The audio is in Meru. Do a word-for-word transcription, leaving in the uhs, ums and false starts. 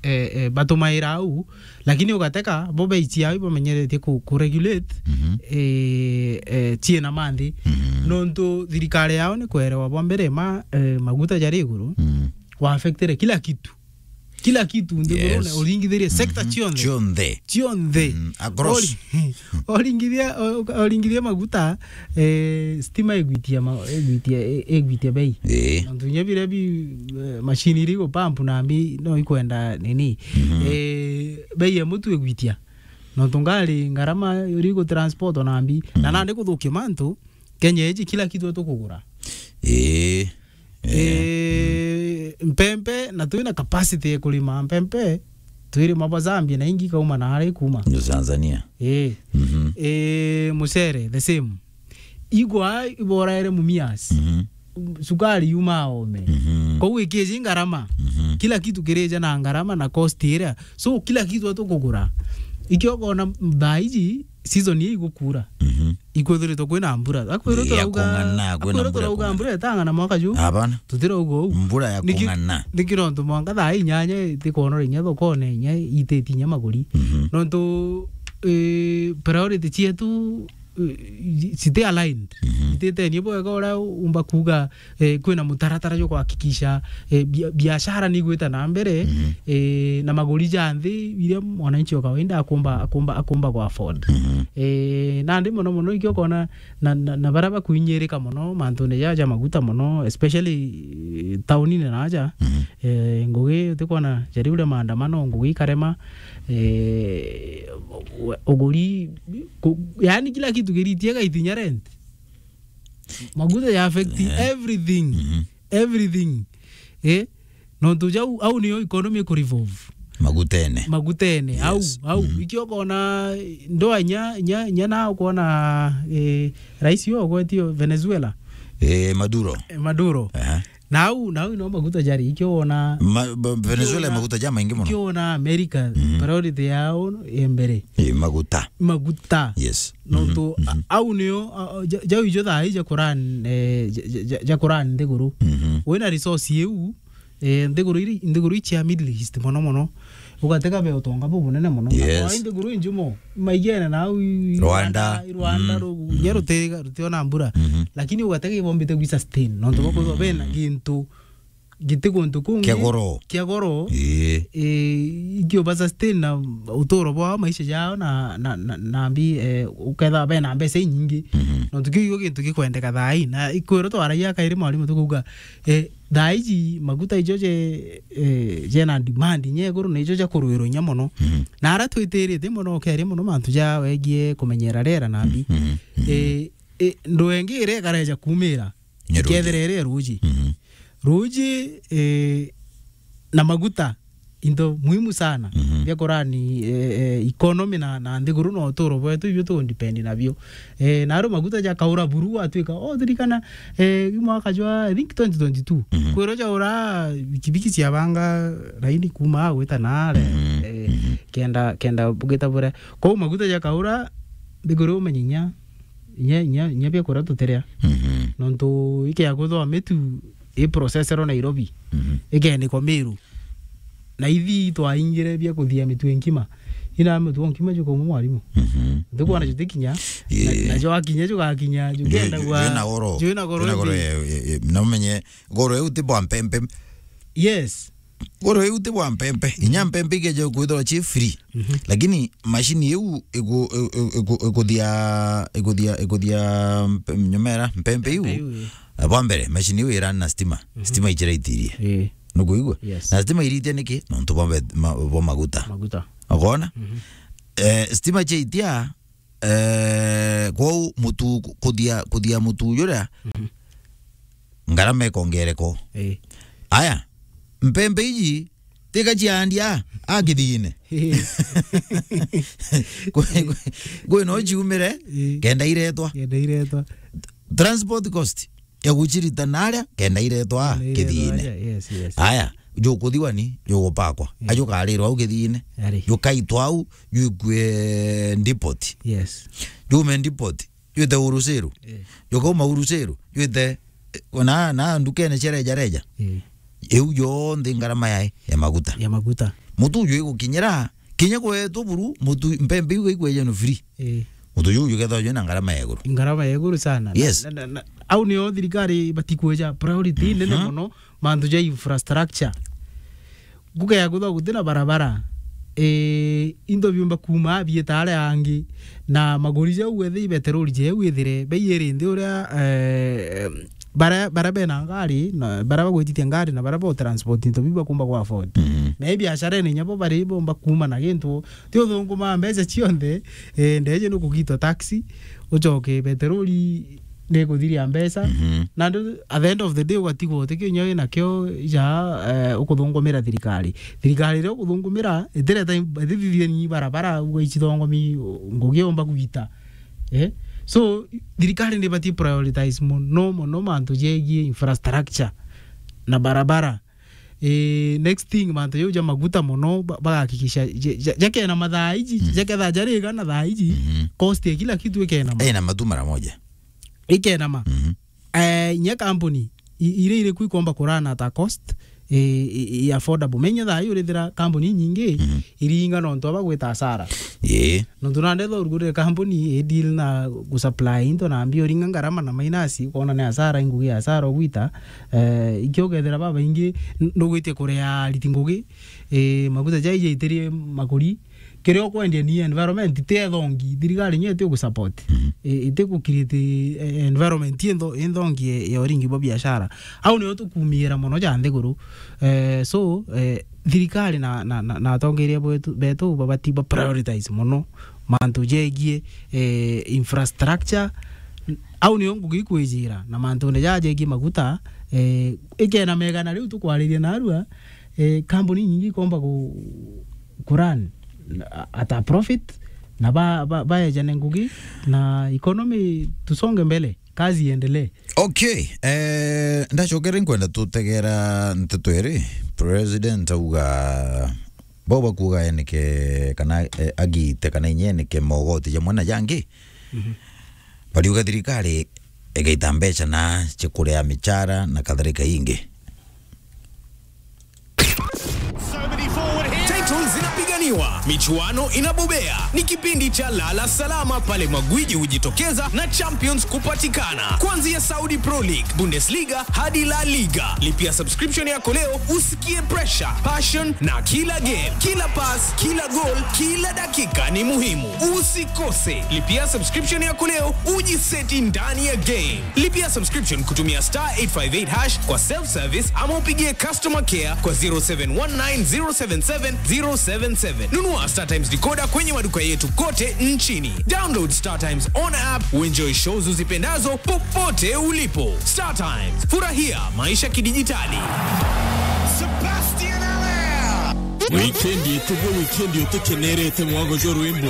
eh, eh, batumaira au, lakini ugateka bo beichi yao ibamenyeretie ku, ku regulate, Mhm. eh, eh, chiena manthi. Mhm. Nontu thirikari yao ni kwerewa bwa mbere ma, eh, maguta jari iguru, Mm. wa affectire kila kitu. Kila kitu nthigurune, Yes. uringithirie sector Mhm. cionthe. Cionthe. Cionthe. Mm, across. Ori-, oringithia, o-, oringithia maguta, eh, stima igwitia ma-, igwitia, i-, igwitia bei. Ii. Nontu inya biria bi, eh, machine iri gupampu na mbi no ikwenda nini. Mhm. Eh, bei ya mutu igwitia. Nontu ngari ngarama iri gu transport na mbi. Na Mhm. nandi kuthukia mantu, Kenya iji kila kitu tukugura. Ii. Eh, mpempe, na twina capacity ya kurima mpempe, twirima bwa Zambia na ingi kauma na aria ikuma. Ni Tanzania. Eh. Mhm. Eh, mucere, the same. Igwa iboraere Mumias. Mhm. Sukari yuma ome. Mhm. Kou ikiji ngarama. Mhm. Kila kitu kirija na ngarama na cost iria. So, kila kitu atukugura. Ikio kona thaa iji, season ii igukura. Mhm. Ikwithiritwe kwina mbura. Akwirwo Ii, ya turauga, kung'ana, kwina akwirwo mbura ya turauga kung'ana. Mbura itang'ana mwaka ju. Hapana. Tutirauga uu. Mbura ya Niki-, kung'ana. Niki nontu mwanka thaa inyanya itikwonora inya thokone inya iteti inya maguri. Mhm. Nontu, eh, priority cietu, eh, citi aligned. Mhm. Ititenie bwega uria umba kuuga eh, kwina mutaratara jwa kuhakikisha, eh, bia-, biashara ni igwita na mbere, Mhm. eh, na maguri ja nthi iria mwananchi wa kawaida akumba, akumba, akumba ku afford. Mhm. Eh, nandi mono mono ikio kona na, na, na baria bakuinyirika mono mantune ja, ja maguta mono, especially, eh, taunine na aja, Mhm. eh, ngugi utikona jari uria maandamano, ngugi ikarema, eh, u-, uguri, ku-, yani kila kitu kiritie gaitinya rent. Maguta ya affect Eh. everything. Mhm. Everything. Eh? Nontu jau, au niyo economy iku revolve. Magutene. Magutene. Au, Yes. au. Mhm. Ikio kona, ndoa nya, nya, nya na ukona, eh, rais yo gwetio Venezuela. Eh, Maduro. Eh, Maduro. Aha. Nau, nau no maguta jari, ikio wona Ma-, ba-, Venezuela ikio wona maguta ja maingi mono. Ikio wona America, Mhm. priority yao e mbere. Ii, maguta. Maguta. Yes. Nontu, Mhm. a-, au nio, a-, a-, ja-, jau ijo thaa ija kuran, eh, ja-, ja-, ja-, ja kuran nthiguru. Mhm. Wina resource iu, eh, nthiguru iri, nthiguru icia Middle East mono mono. Ugatega be utonga bubunene mono. Yes. Kwa nthiguru injumo, maigene nau i-, i-, Rwanda. Rwanda, Rwanda, Mm. ru-, Mm. nya rutiga, rutiona mbura. Mhm. Lakini ugatega ibombite gwi sustain. Nontu bakwithwa Mm. bena gintu giti guntu kungi Kia goro. kia goro, Ii. eh, ikio ba sustain na uturo bwao, maisha jao na, na, na, na mbi, eh, ukethirwa bena mbeca inyingi. Mhm. Nontu kiu igio gintu gikwendeka thaa ii. Na ikwirwo twaragia kairi mwarimu tukuuga, eh, thaa iji maguta ijo je, eh, jena demand inya iguru na ijo ja kurwirwa inya mono. Mhm. Na ara twitirite mono, ukeria mono mantu ja wegie kumenyera riera na mbi. Mhm. Mhm. Eh, eh, ndu engi iria ikareja kumira. Ni ruji. Ikethira iri ruji. Mhm. Ruji, eh, na maguta, into muhimu sana. Mhm. Bia kurani, eh, eh, economy na, na nthiguru na uturo bwetu, ibio tu depend nabio. Eh, na aro maguta jakaura buru, atwika, oh, ririkana, eh, i mwaka jwa, I think, twenty twenty-two. Mhm. Kwirwo jaura, bikibiki ciabanga raini kuma a gwita naare, Mhm. eh, Mhm. kenda, kenda bugita buria. Kwou maguta jakaura, nthiguru umenye inya inya, inya, inya bia kuria tutiria. Mhm. Nontu ikia kuthwa mitu i processerwo Nairobi. Mhm. Ikenikwa Meru. Na ithi twaingire bia kuthia mitu nkima. Ina mitu nkima jukauma mwarimu. Mhm. Ntukwana Mhm. jutikinya. Ii. Na, na jwakinya jugakinya, Ju-, jugenda ju-, gwa, jwina goro. Jwina goro Jwina goro indi. Ye, ye, ye. Na umenye goro eu ti bwa mpempe. Yes. Goro iu ti bwa mpempe. Inya mpempe ikeja kwithirwa ci free. Mhm. Lakini machine iu iku-, iku-, iku-, ikuthia, ikuthia, ikuthia mpe-, nyomera, mpempe iu. Mpempe iu, ii. Eh, bwa mbere, machine iu irani na stima. Mhm. Stima ichiraitirie. Ii. Nukuigua? Yes. Na stima iritia niki? Nontu bwa mbe-, ma-, bwa maguta. Maguta. Ukona? Mhm. Eh, stima chiaitia, eh, kwou mutu, kuthia, kuthia mutu juria, Mhm. ngarama ikongereko. Ii. Aya, mpempe iji, tika ciandia, a kithigine. Ii. Kwi, kwi, kwi no ciumire, Ii. kenda iretwa. Kenda iretwa. Transport cost ya gucirita naria, kenda iretwa Kenda iretwa kithigine. Aja, yes, yes. Aya, jukuthiwa ni, jugupakwa. Ii. Ajukarirwa au kithigine. Ari. Jukaitwa au, jukwe depot. Yes. Jume depot. Jwite Urusiru. Eh. Jukauma Urusiru, jwite, eh, na, na ndukene cia reja reja. Eh. Iu yonthe ngarama yae ya maguta. Ya maguta. Mutu uju igukinyira, kinya kwetwo buru, mutu, mpembe iu ikweja no free. Eh. Mutu uju uju kethwa jwina ngarama ya iguru. Ngarama ya iguru sana. Na, yes, na, na, na, au nio thirikari batikweja priority nene, mhm, mono, mantu ja infrastructure. Ngugeya kwithwa guti na barabara, eh, into biumba kuuma biita aria angi, na maguri jau ethi ibeterori jeu ithire beiyiri nthi uria, eh, bara, bara bena ngari, na bara bagwititie ngari, na bara bo transport into biu bakumba ku afford. Mhm. Na i biashara ene inya bo bari bomba kuuma na gintu, ti uthunguma mbeca cionthe, eh, ndeje ni kugitwa taxi, ucoke beterori ni kuthiria mbeca. Mhm. Na ndu, at the end of the day, ugatigwo uti kinya wina kio ja, eh, ukuthungumira thirikari. Thirikari iria ukuthungumira, itireta im-, itithithia ni barabara, uga icithongomi, ngugi yomba gwita. Eh? So, thirikari ni ibati prioritize mono, mono mantu jegie infrastructure na barabara. Eh, next thing, mantu jau ja maguta mono, ba-, bagakikisha, ja-, ja-, jakena mathaa iji, mm, jaketha jariga na thaa iji, mhm, cost ya kila kitu ikena ma-, ina matu mara moja. Ikenama. Mhm. Eh, inya kambuni, i-, iria iriku ikomba kurana at a cost, eh, i-, i affordable. Menya thaa ii urithira kambuni inyingi, mhm, iringa nontu aba gwita hasara. Ii. Nontu nandetha urugurire kambuni, i deal na gusupply into na mbia uringa ngarama na minus, ukona ni hasara, ingugi ya hasara ugwita. Eh, ikio ukethira babaingi, n-, nugwitie kuria ariti ngugi, eh, maguta jai jaitirie makuri, kiria ukwendia ni environment, ti ethongi, thirikari nyo iti gusupport. Mhm. I-, iti ku create, eh, environment intho-, inthongi ya, ya uringi bwa biashara. Au nio tukumiira mono ja nthiguru. Eh, so, eh, thirikari na, na, na, na atongeria betu, betu babati ba prioritize mono mantu jegie, eh, infrastructure. Au nio ngugi ikwijira, na mantune ja jegie maguta, eh, ikena megana riu tukwariria narua, eh, kambuni nyingi ikomba ku-, ku run at a profit, na ba, ba, baejane ngugi, na economy tusonge mbele, kazi iendelee. Okay, eh, ndacokere nkwenda tutegera nteto iri, President auga, bau bakuuga enike kana, eh, agite kana inyenike mogoti jamwe na jangi. Mhm. Bariuga thirikari igaita mbeca na cia kuria michara na kadhalika ingi. Titles zinapiganiwa, michuano inabobea. Ni kipindi cha lala salama pale magwiji hujitokeza na champions kupatikana. Kuanzia Saudi Pro League, Bundesliga hadi La Liga. Lipia subscription yako leo usikie pressure, passion na kila game, kila pass, kila goal, kila dakika ni muhimu. Usikose. Lipia subscription yako leo ujiseti ndani ya game. Lipia subscription kutumia star eight five eight hash kwa self-service ama upigie customer care kwa zero seven one nine zero seven seven zero seven seven. Nunua StarTimes decoder kwenye maduka yetu kote nchini. Download StarTimes on app, uenjoy shows uzipendazo popote ulipo. StarTimes, furahia maisha kidijitali. Sebastian Allaire. Wikendi ituge wikendi utikenerete mwago jwa rwimbo.